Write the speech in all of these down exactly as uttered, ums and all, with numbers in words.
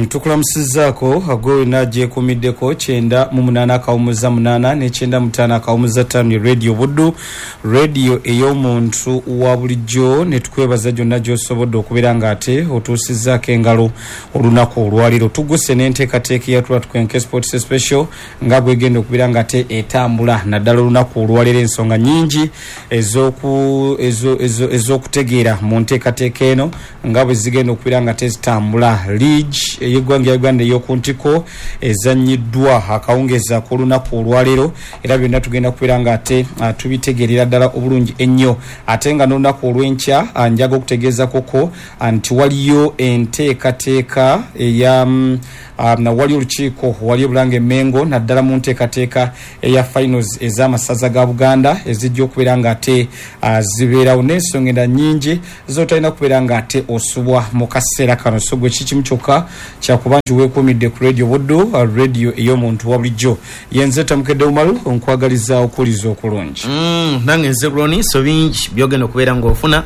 Mm, tukulamusizaako agwe wena gyekuumiddeko kyenda mu munaana akawumuza munaana ne kyenda mu ttaano akawumuza ttaano, Radio Buddu, radio ey'omuntu wa bulijjo, ne tukwebaza gyonna gy'osobodde okubeera ng'ate otuusizzaako engalo olunaku olwaleero. Tuguse n'enteekateeka eyatula Tukwenke Sports Special nga bwegenda okubeera ng'ate etambula naddala olunaku olwaleero, ensonga nnyingi ez'oku- ezo- ezo- ez'okutegeera mu nteekateeka eno nga bwe zigenda okubeera nga tezitambula. League ey'eggwanga ya Uganda ey'oku ntiko ezannyiddwa akawungeezi ak'olunaku olwaleero, era byonna tugenda kubeera nga ate ah, tubitegeerera ddala obulungi ennyo. Ate nga n'olunaku olw'enkya ah, njaga okutegeeza koko ah, nti waliyo enteekateeka eya mm, ah, na waliyo olukiiko wali Bulange Mengo, naddala mu nteekateeka eya finals ez'amasaza ga Buganda ezijja okubeera nga ate ah, zibeerawo, n'ensonga endala nnyingi zotalina kubeera nga ate osubwa mu kaseera kano. So gwe kikimu kyokka kyakuba nti weekuumidde ku Radio Buddu, ah, radio ey'omuntu wa bulijjo. Yenze Tamukedde Umaru, nkwagaliza okuwuliza okulungi. Mm, nange nze Roni. So bingi byogenda okubeera ng'ofuna,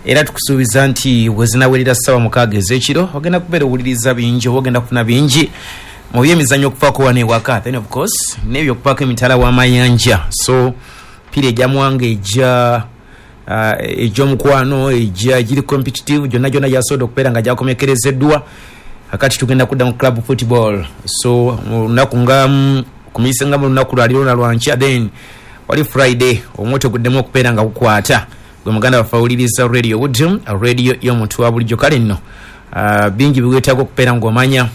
era tukusuubiza nti wezinawerera ssaawa mukaaga ez'ekiro ogenda kubeera owuliriza bingi oba ogenda kufuna bingi mu byemizannyo okuvaako wano ewaka, then of course n'ebyo okuvaako emitala w'amayanja. So piira egyamuwanga ejja uh, egy'omukwano ejja egiri competitive gyonna gyonna gyasobodde okubeera nga gyakomekerezeddwa. Akati tugenda kudda mu club football, so mu lunaku nga mm, kumise nga mu lunaku lwaliro na lwankya, then wali Friday omwoto guddemu okubeera nga gukwata. Gwe muganda waffe awuliriza Radio Buddu, radio y'omuntu wa bulijjo, kale nno uh, bingi biwetaaga okubeera ng'omanya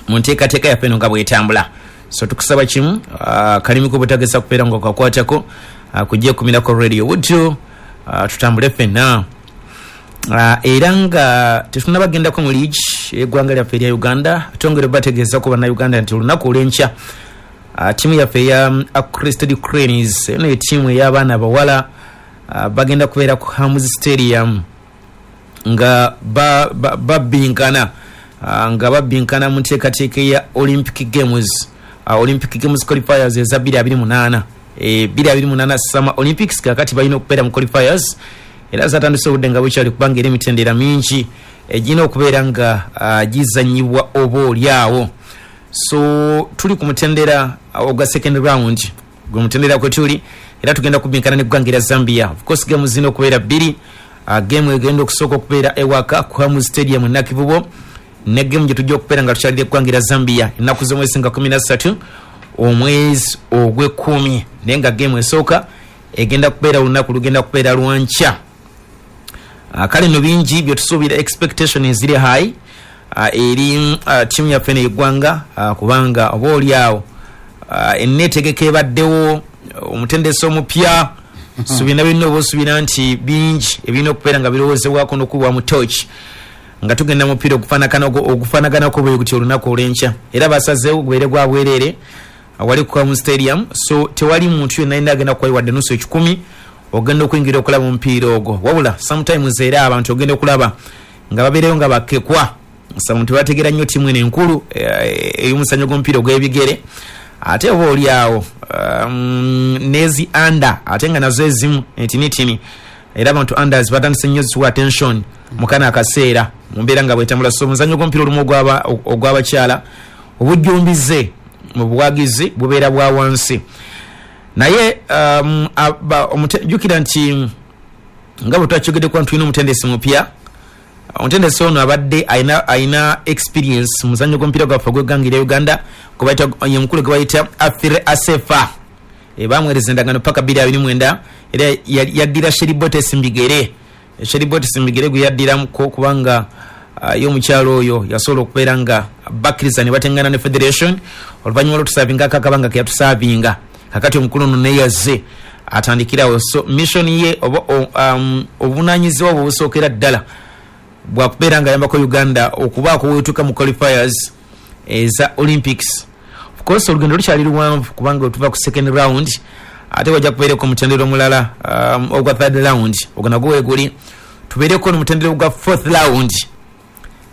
mu nteekateeka yaffe eno nga bwetambula. So tukusaba kimu, uh, kalimi ko butagesa kubeera nga okakwatako uh, kujekumirako Radio Buddu, uh, tutambule ffenna. Uh, era nga tetunabagendako mu league eggwanga lyaffe erya Uganda, twongere bategeezako bannayuganda nti olunaku olw'enkya uh, ttiimu yaffe eya um, Crested Cranes, eno ettiimu ey'abaana abawala, uh, bagenda kubeera ku Hams Stadium nga babbinkana ba, uh, nga babbinkana mu nteekateeka eya Olympic Games, uh, Olympic Games qualifiers eza bbiri abiri munaana, e, bbiri abiri munaana Summer Olympics. Kakati balina okubeera mu qualifiers, era zatandise obudde nga bukyali kubanga era emitendera mingi egirina okubeera nga uh, gizanyibwa oba oliawo. So tuli ku mutendera ogwa second round, gwe mutendera kwe tuli, era tugenda kubinkana n'eggwanga erya Zambia. Of course game zirina okubeera bbiri, uh, game egenda okusooka okubeera ewaka ku Hamu Stadium e Nakivubo, ne game gye tujja okubeera nga tukyalira eggwanga erya Zambia ennaku z'omwezi nga kumi na ssatu omwezi ogw'ekkumi, naye nga game esooka egenda kubeera olunaku lugenda kubeera lwankya. Uh, kale no bingi byetusuubira, expectation eziri high uh, eri uh, ttiimu yaffe n'eggwanga, uh, kubanga oba oli awo uh, enneetegeka ebaddewo, omutendesi omupya, so byonna byonna oba osuubira nti bingi ebirina okubeera nga birowoozebwako n'okubwa mu torch nga tugenda mupiira ogufaanaganako bwe guti olunaku olw'enkya. Era basazeewo gubeere gwa bwereere wali ku Hamu Stadium, so tewali muntu yenna yenna agenda kuwayo wadde nusu ekikumi ogenda okuyingira okulaba omupiira ogwo. Wabula sometimes era abantu ogenda okulaba nga babeereyo nga bakekwa, some tebategeera nnyo ttiimu eno enkulu ey'omuzannyo gw'omupiira ogw'ebigere, ate oba oli awo um, nezi under ate nga nazo ezimu entinitini, era abantu unders batandise nnyo ziwa attention mu kano akaseera mu mbeera nga bwetambula. So omuzannyo gw'omupiira olumu ogw'abakyala obujjumbize mu buwagizi bubeera bwa wansi, naye um, jjukira nti nga bwe twakyogeddeko nti tulina omutendesi mupya. Omutendesi ono abadde alina alina experience mu muzannyo gw'omupiira gwaffe ogw'eggwanga erya Uganda, ye mukulu gwe bayita Afire Asefa. E, bamuweereza endagaano paka bbiri abiri mwenda, era yaddira Sheribotes Mbigere. Sheribotes Mbigere gwe yaddiramuko kubanga uh, ye omukyalo oyo yasobola okubeera nga bakkiriza ne batengana ne federation oluvannyuma lw'otusaavinga akabanga ke yatusaavinga. Kakati omukulu ono neyazze atandikirawo, so mission ye oba um, obuvunaanyizibwa bwe busookera ddala bwakubeera nga ayambako Uganda okubaako weetuuka mu qualifiers eza Olympics. Of course olugendo lukyali luwanvu kubanga otuva ku second round, ate wajja kubeereko omutendera omulala um, ogwa third round, ogwo nagwo weeguli, tubeereko n'omutendera ogwa fourth round.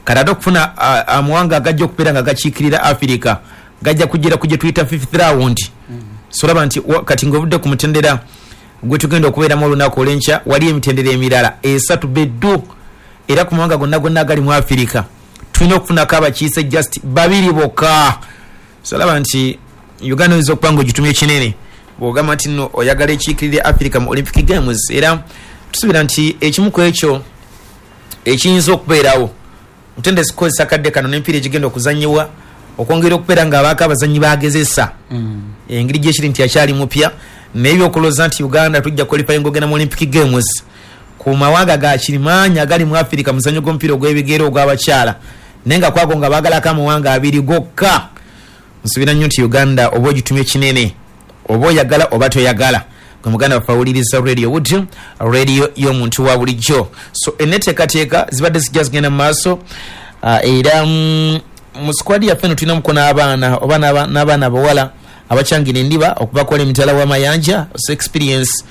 Kati ate okufuna uh, amawanga agajja okubeera nga gakiikirira Africa gajja kujjira ku gye tuyita fifth round. Mm. So olaba nti kati ng'ovudde ku mutendera gwe tugenda okubeeramu olunaku olw'enkya, wali emitendera emirala esatu beddu, era ku mawanga gonna gonna agali mu Africa Tulina okufunako abakiise just babiri bokka. So laba nti Uganda oyinza okuba nga ogitumye kinene bw'ogamba nti nno oyagala ekiikirire Africa mu Olympic Games. Era tusuubira nti ekimu ku ekyo ekiyinza okubeerawo, mutendesi kukozesa kadde kano n'emipiira egigenda okuzannyibwa okwongera okubeera ng'abaako abazannyi bagezesa engeri gyekiri nti akyali mupya. Naye ebyokulowooza nti Uganda tujja qualifying ogenda mu Olympic Games ku mawanga ga kirimaanyi agali mu Africa muzannyo gw'omupiira ogw'ebigere ogw'abakyala, naye nga kwago nga baagalako amawanga abiri gokka, nsuubira nnyo nti Uganda oba ogitumye kinene, oba oyagala oba toyagala. Gwe muganda waffe awuliriza Radio Buddu, radio y'omuntu wa bulijjo. So enneteekateeka zibadde zijja zigenda mu maaso, uh, era mm, mu squad yaffe eno tulinamuko n'abaana oba n'abaana abawala abachangira endiba okubakola emitala w'amayanja, so experience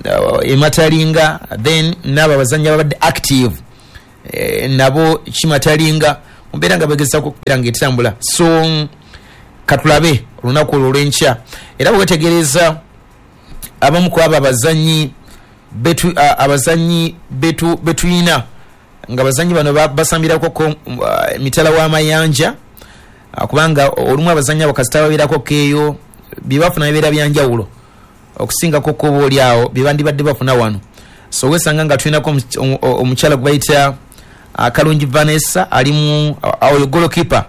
uh, ematalinga. Then n'abo abazannyi ababadde active eh, nabo kimatalinga mubeera nga begezaako okubeera nga etambula. So katulabe olunaku olwo olw'enkya. Era bwe wetegereza abamu ku abo abazannyi betu uh, abazannyi betu betuyina nga abazannyi bano basambirako ko uh, mitala w'amayanja, uh, kubanga olumu abazannyi abo kasita babeerako keeyo bye bafuna bibeera byanjawulo okusingako ko oba oli awo bye bandibadde bafuna wano. So wesanga nga tulinako omukyala gwe bayita uh, Kalungi Vanessa ali mu oyo goalkeeper,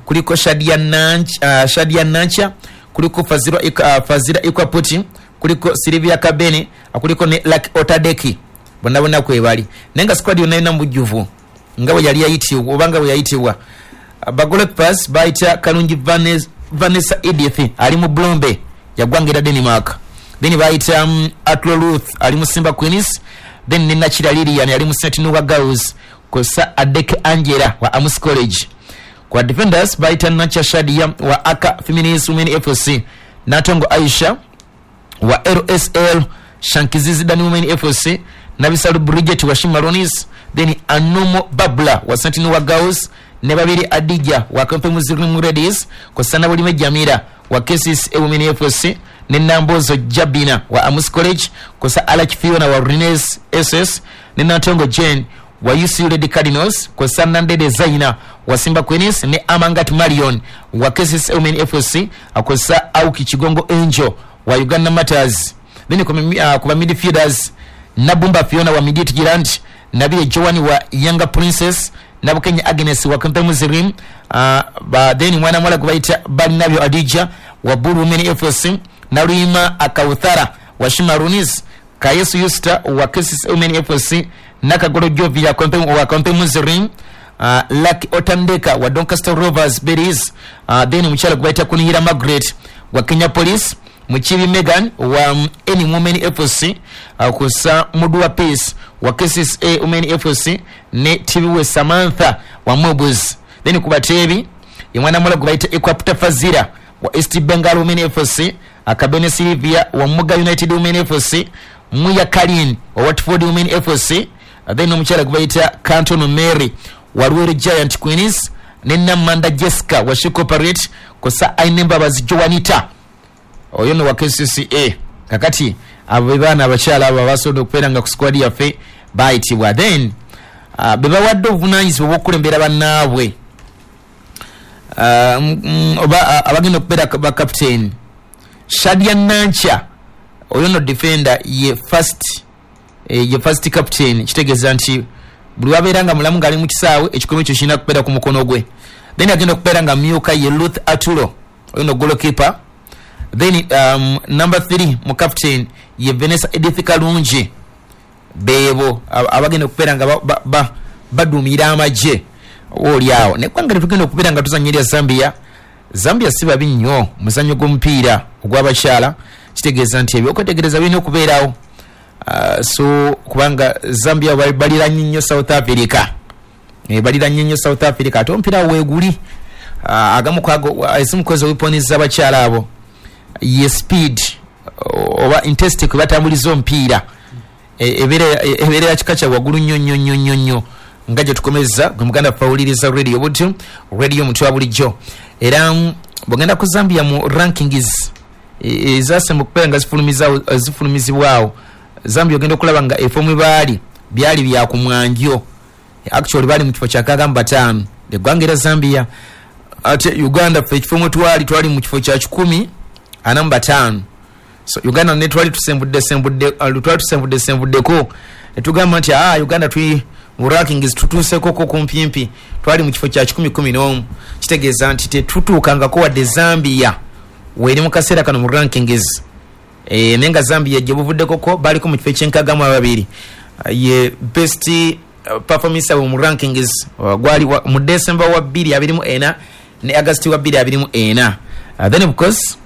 kuliko Shadia Nancha, uh, Shadia Nancha, kuliko Fazira uh, Fazira Ikwaputi, kuliko Silvia Kabene, kuliko ne Lucky Otadeki, bonna bonna kwe bali. Naye nga squad yonna yonna mu bujjuvu nga bwe yali yayitibwa oba nga bwe yayitibwa. Ba goalkeepers bayita Kalungi Vanessa Edith ali mu Blombe yagwangira Denmark. Then bayita um, Atlo Ruth ali mu Simba Queens. Then ne Nachira Lilian ali mu Saint Noah Girls, kosa Adeke Angela wa Amus College. Kwa defenders bayita Nacha Shadia wa Aka Feminist Women F C, Natongo Aisha wa L S L Shankizizi Dani Women F C, Nabisalu Bridget wa Shimaronis, then Anomo Babla wa Saint Noah Girls, ne babiri Adija wa Kampe Muslim Ladies, kosa Nabulime Jamira wa K C C Women F C, ne Nambozo Jabina wa Amus College, kosa Alach Fiona wa Rines S S, ne Natongo Jane wa U C Red Cardinals, kosa Nandede Zaina wa Simba Queens, ne Amangat Marion wa K C C Women F C, akosa Auki Chigongo Angel wa Uganda Matters. Then kwa uh, midfielders Nabumba Fiona wa Midiet Girant, Nabile Joani wa Younger Princess, Nabukenya Agnes wa Kampe Muslim, uh, ba then mwana mwala kubaita Balinabyo Adija wa Buru Women F C, Narima Akauthara wa Shimarunis, Kayesu Yusta wa K C C Women F C, Nakagoro Jovi ya Kampe wa Kampe Muslim, uh, Lucky Otandeka wa Doncaster Rovers Berries, uh, then mchala kubaita Kunihira Margaret wa Kenya Police, Muchibi Megan wa um, Any Women F C, uh, kusa Mudua Peace wa K C C A Women F C, ne Tibiwe Samantha wa Mobus. Then kubatebi imwana mula kubaita Equapta Fazira wa East Bengal Women F C, Akabene Silvia wa Muga United Women F C, Muya Kalin wa Watford Women F C, then omukyala kubaita Canton Mary wa Ruweru Giant Queens, ne Namanda Jessica wa She Corporate, kosa Ainembabazi Joanita oyo no wa K C C A. Kakati abo baana abakyala abo abasobola okubeera nga ku squad yaffe bayitibwa. Then uh, be bawadde obuvunaanyizibwa obw'okukulembera bannaabwe, uh, mm, oba uh, abagenda okubeera ba captain Shadia Nancha oyo no defender ye first eh, ye first captain, kitegeeza nti buli wabeera nga mulamu ng'ali mu kisaawe ekikomo ekyo kirina kubeera ku mukono gwe. Then agenda okubeera nga myuka ye Ruth Atulo oyo no goalkeeper. Then um, number three mu captain ye Vanessa Edith Kalungi. Bebo abagenda okubeera nga baduumira amagye oli awo. Neggwanga tugenda okubeera nga tuzannyira Zambia. Zambia si babi nnyo muzannyo gw'omupiira ogw'abakyala, kitegeeza nti ebyokwetegereza birina okubeerawo. Uh, so kubanga Zambia baliranye nnyo South Africa, e, baliranye nnyo South Africa ate omupiira weeguli. Uh, agamu kwago ezimu kwezi weapons z'abakyala abo ye speed oba intensity kwe batambuliza omupiira ebeera ya kika kya waggulu nnyo nnyo nnyo nnyo nnyo. Nga gye tukomeza gwe muganda waffe awuliriza Radio Buddu, radio omuntu wa bulijjo. Era bw'ogenda ku Zambia mu rankings ezasemba okubeera nga zifulumizibwawo, Zambia ogenda okulaba nga efo mwe baali byali bya ku mwanjo, actually baali mu kifo kya nkaaga mu bataano. Eggwanga era Zambia. Ate Uganda ffe ekifo mwe twali, twali mu kifo kya kikumi ana mu bataano. So Uganda ne twali tusembudde sembudde twali tusembudde sembuddeko ne tugamba nti ah Uganda tuli mu rankings tutuuseko ko kumpimpi, twali mu kifo kya kikumi kumi n'omu. Kitegeeza nti tetutuukangako wadde Zambia weeri mu kaseera kano mu rankings. E, nenga Zambia gye buvuddeko ko baliko mu kifo eky'enkaaga mu ababiri, ye best uh, performance mu rankings uh, gwali mu December wa bbiri abiri mu ena ne August wa bbiri abiri mu ena. Uh, then of course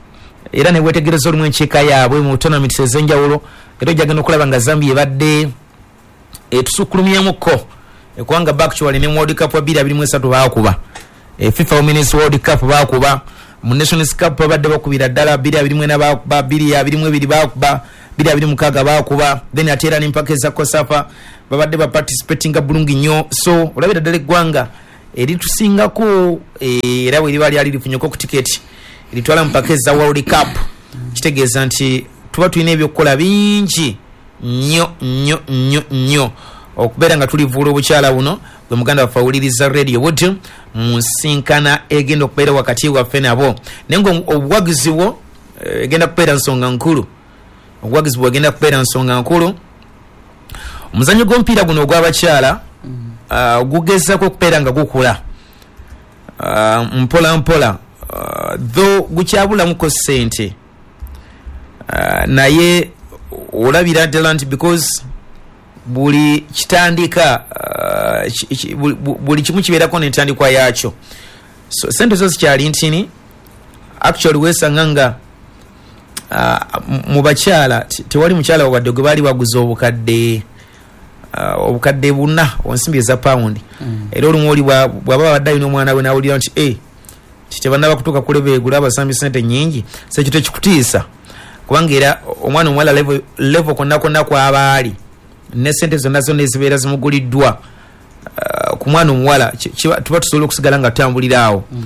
era ne wetegereza olumu enkiika yaabwe mu tournaments ez'enjawulo, era ojja okulaba nga Zambia ebadde etusukulumyemuko ekubanga actually ne World Cup wa bbiri abiri mu esatu baakuba, e, FIFA Women's World Cup baakuba, mu Nations Cup babadde bakubira ddala bbiri abiri mu ena baakuba, bbiri abiri mu ebiri baakuba, bbiri abiri mu mukaaga baakuba, then ate era n'empaka eza COSAFA babadde baparticipatinga bulungi nnyo. So olabira ddala eggwanga eritusingako, era bwe liba lyali lifunyeko ku tiketi eritwala mpaka eza World Cup, kitegeeza nti tuba tulina ebyokukola bingi nnyo nnyo nnyo nnyo okubeera nga tulivuula obukyala buno. Gwe muganda waffe awuliriza Radio Buddu mu nsinkana egenda okubeera wakati waffe nabo, naye nga obuwagizi bwo egenda kubeera nsonga nkulu, obuwagizi bwo egenda kubeera nsonga nkulu. Omuzannyo gw'omupiira guno ogw'abakyala uh, gugezaako okubeera nga gukula uh, mpola mpola, uh, though gukyabulamuko ssente, uh, naye olabira ddala nti because buli kitandika uh, buli, buli kimu kibeerako n'entandikwa yaakyo. So sente zo zikyali ntini, actually weesanga nga uh, mu bakyala tewali mukyala wadde gwe baali baguza obukadde uh, obukadde buna onsimbi eza paundi. Mm. Era olumu oli bw'aba abadde alina omwana we n'awulira nti eh tebannaba kutuuka ku level egula abasambi sente nnyingi, so ekyo tekikutiisa kubanga era omwana omuwala level, level konna konna kw'aba ali ne sente zonna zonna ezibeera zimuguliddwa uh, ku mwana omuwala tuba tusobola okusigala nga tutambulira awo. Mm.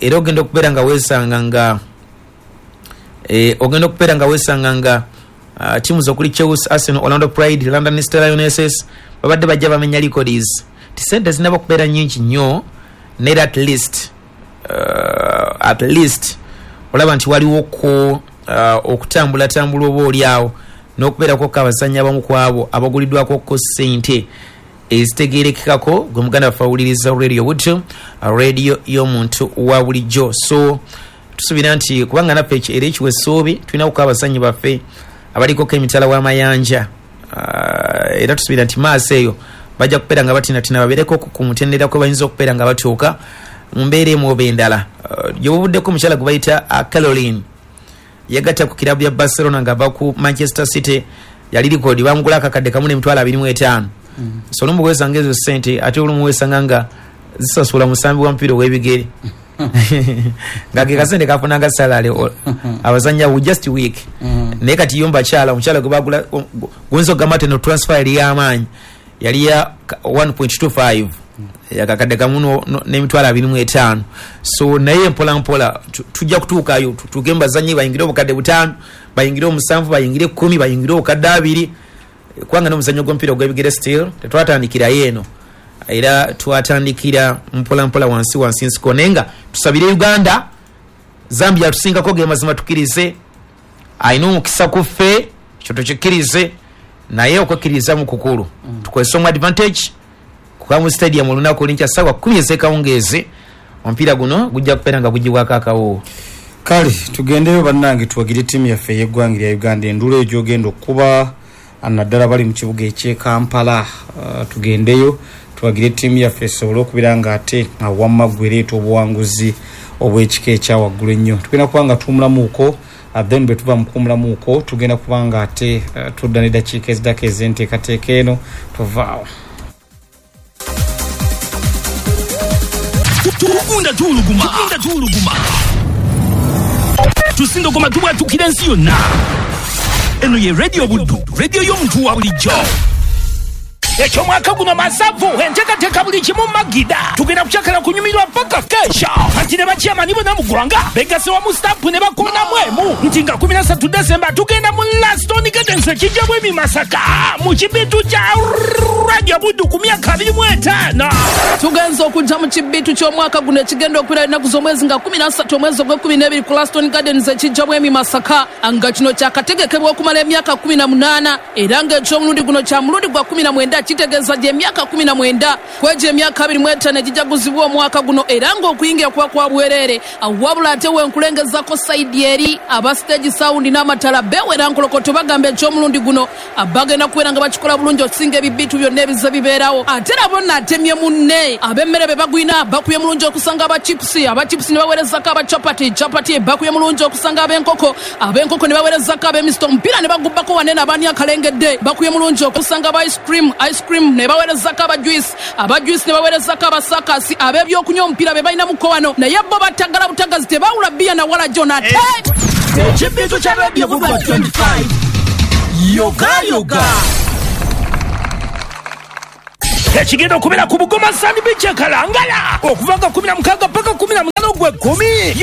Era ogenda okubeera nga weesanga nga eh, ogenda okubeera nga weesanga nga uh, tiimu zokuli Chelsea, Arsenal, Orlando Pride, London Stars Lionesses babadde bajja bamenya records. Ti sente zinaba kubeera nnyingi nnyo, naye at least uh, at least olaba nti waliwo ko uh, okutambulatambula oba oli awo n'okubeerako ko abazannyi abamu ku abo abaguliddwako ko ssente ezitegeerekekako. Gwe muganda waffe awuliriza Radio Buddu, radio y'omuntu wa bulijjo. So tusuubira nti kubanga naffe era ekiwa essuubi tulina kuko abazannyi baffe abalikoko emitala w'amayanja, uh, era tusuubira nti maaso eyo bajja kubeera nga batinatina babeereko ku mutendera kwe bayinza okubeera nga batuuka mu mbeera emu oba endala. Uh, gye buvuddeko omukyala gwe bayita uh, Caroline yagatta ku kirabu ya Barcelona ng'ava ku Manchester City, yali likodi bamugula akakadde kamu n'emitwalo abiri mu etaano. Mm. So olumu weesanga ezo ssente ate olumu weesanga nga zisasula musambi wa mupiira ow'ebigere nga ke kasente kafunanga salale abazannya wu just week. Mm. Naye kati yo mbakyala omukyala gwe bagula guyinza okugamba nti eno transfer yali y'amaanyi, yali ya one point two five yakakadde kamu n'emitwalo abiri mu etaano. So naye mpola mpola tujja kutuukayo tutuuke mu bazannyi bayingire obukadde butaano, bayingire omusanvu, bayingire ekkumi, bayingire obukadde abiri, kubanga n'omuzannyo gw'omupiira ogw'ebigere still tetwatandikirayo eno, era twatandikira mpola mpola wansi wansi nsiko. Naye nga tusabire Uganda, Zambia tusingako ge mazima tukkirize, alina omukisa ku ffe ekyo tukikkirize, naye okwekkiriza mu kukulu. Mm. Tukozese omu advantage kuba mu stadium olunaku olwenkya ssaawa kkumi ez'ekawungeezi omupiira guno gujja kubeera nga gugibwako akawoowo. Kale tugendeyo bannange tuwagire ttiimu yaffe ey'eggwanga lya Uganda enduulu eyo gy'ogenda okuba naddala bali mu kibuga eky'e Kampala. Uh, tugendeyo tuwagire ttiimu yaffe esobole okubeera nga ate wamma ggwe ereeta obuwanguzi obw'ekika ekya waggulu ennyo. Tugenda kuba nga tuwumulamuuko, then bwe tuva mu kuwumulamuuko tugenda kuba nga ate uh, tudda n'eddakiika eziddako ez'enteekateeka eno tuvaawo. Tugunda tuwuluguma, tugunda tuwuluguma, tusindogoma tubwatukira ensi yonna. Eno ye Radio Buddu, radio y'omuntu wa bulijjo. Eky'omwaka guno masavu, enteekateeka buli kimu magida. Tugenda kukyakala kunyumirwa paka kesha. Anti ne bakyamani bonna mu ggwanga begasse wamu stampu ne bakonamu emu nti nga kumi na ssatu Desemba tugenda mu Laston Gardens ekijjamu emi Masaka mu kibitu kya Radio Buddu ku myaka abiri mu etaano. Tugenza okujja mu kibitu ky'omwaka guno ekigenda okubeera ennaku z'omwezi nga kumi na ssatu omwezi ogw'ekkumi n'ebiri ku Laston Gardens ekijjamu emi Masaka, nga kino kyakategekebwa okumala emyaka kumi na munaana era ng'eky'omulundi guno kya mulundi gwa kumi na mwenda, kitegeeza gy'emyaka kumi na mwenda kwegyo emyaka abiri mu etaano egijaguzibwa omwaka guno, era ng'okuyingira kuba kwa bwereere. Wabula ate wenkulengezako sayidi eri aba stage sound n'amatala bewera nkolokoto bagamba eky'omulundi guno bagenda kubeera nga bakikola bulungi okusinga ebibitu byonna ebize bibeerawo. Ate nabo naatemye munne ab'emmere be bagwina bakubye mulungi okusanga aba chipusi, aba chipusi ne baweerezako aba chapati, chapati bakubye mulungi okusanga ab'enkoko, ab'enkoko ne baweerezako ab'emisito, omupiira ne bagubbako wanene abaani akalengedde bakubye mulungi okusanga aba ice cream, ice cream ne baweerezako aba juice, aba juice ne baweerezako abasakasi, ab'ebyokunywa omupiira be balina muko wano, naye bo batagala butagazi tebawula bbiya na wala jona. Ate ekibitu kya Radio Buddu twenty-five yoga yoga ekigenda okubeera ku Bugoma Sand Beach e Kalangala okuva nga kumi na mukaaga paka kumi na munaana ogw'ekkumi.